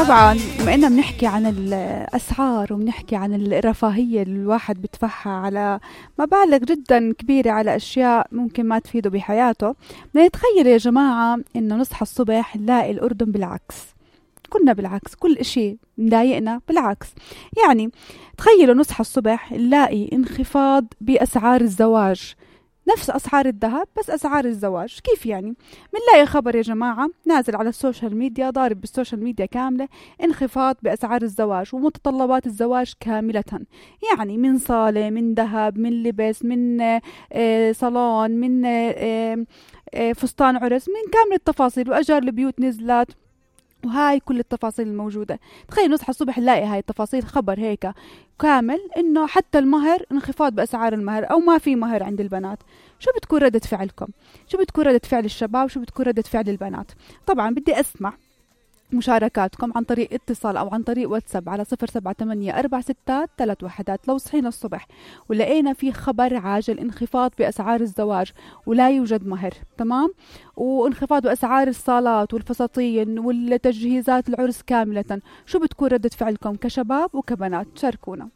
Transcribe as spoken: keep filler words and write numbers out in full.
طبعا بما إننا بنحكي عن الأسعار وبنحكي عن الرفاهية اللي الواحد بيدفعها على مبالغ جدا كبيرة على أشياء ممكن ما تفيده بحياته، بدنا نتخيل يا جماعة إنه نصحى الصبح نلاقي الأردن بالعكس. كنا بالعكس، كل إشي مضايقنا بالعكس. يعني تخيلوا نصحى الصبح نلاقي انخفاض بأسعار الزواج، نفس أسعار الذهب بس أسعار الزواج. كيف يعني؟ منلاقي خبر يا جماعة نازل على السوشيال ميديا، ضارب بالسوشيال ميديا كاملة، انخفاض بأسعار الزواج ومتطلبات الزواج كاملة. يعني من صالة، من ذهب، من لبس، من آه صالون، من آه آه فستان عرس، من كامل التفاصيل، وأجار البيوت نزلت، وهاي كل التفاصيل الموجودة. تخيل نصحى الصبح نلاقي هاي التفاصيل، خبر هيك كامل إنه حتى المهر انخفاض بأسعار المهر أو ما في مهر عند البنات. شو بتكون ردة فعلكم؟ شو بتكون ردة فعل الشباب؟ شو بتكون ردة فعل البنات؟ طبعا بدي أسمع مشاركاتكم عن طريق اتصال أو عن طريق واتساب على صفر سبعة ثمانية أربعة ستة ثلاث وحدات. لو صحينا الصبح ولقينا في خبر عاجل انخفاض بأسعار الزواج ولا يوجد مهر، تمام، وانخفاض بأسعار الصالات والفساتين والتجهيزات العرس كاملة، شو بتكون ردة فعلكم كشباب وكبنات؟ شاركونا.